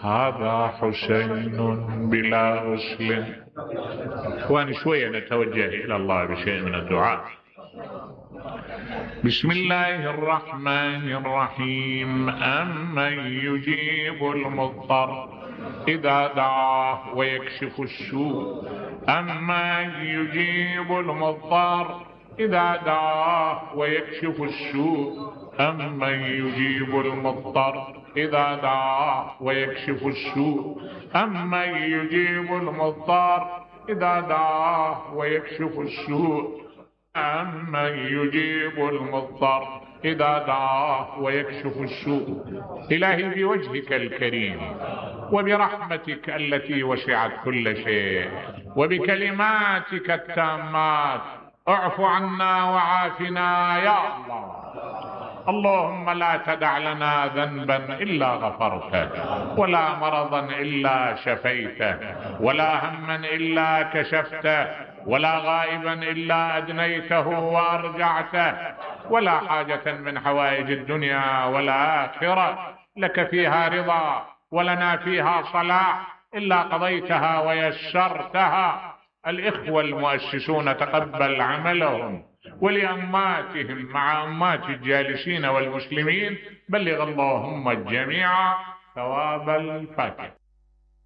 هذا حسين بلا غسل. اخواني شوية نتوجه الى الله بشيء من الدعاء. بسم الله الرحمن الرحيم. أمن يجيب المضطر إذا دعاه ويكشف السوء. أمن يجيب المضطر إذا دعاه ويكشف السوء. أمن يجيب المضطر إذا دعاه ويكشف السوء. أمن يجيب المضطر إذا دعاه ويكشف السوء. أمن يجيب المضطر إذا دعاه ويكشف السوء. إلهي بوجهك الكريم وبرحمتك التي وسعت كل شيء وبكلماتك التامات اعف عنا وعافنا يا الله. اللهم لا تدع لنا ذنبا إلا غفرته، ولا مرضا إلا شفيته، ولا هما إلا كشفته، ولا غائبا إلا أدنيته وأرجعته، ولا حاجة من حوائج الدنيا والآخرة لك فيها رضا ولنا فيها صلاح إلا قضيتها ويسرتها. الإخوة المؤسسون تقبل عملهم، ولأماتهم مع أمات الجالسين والمسلمين بلغ اللهم الجميع ثواب الفاتحة.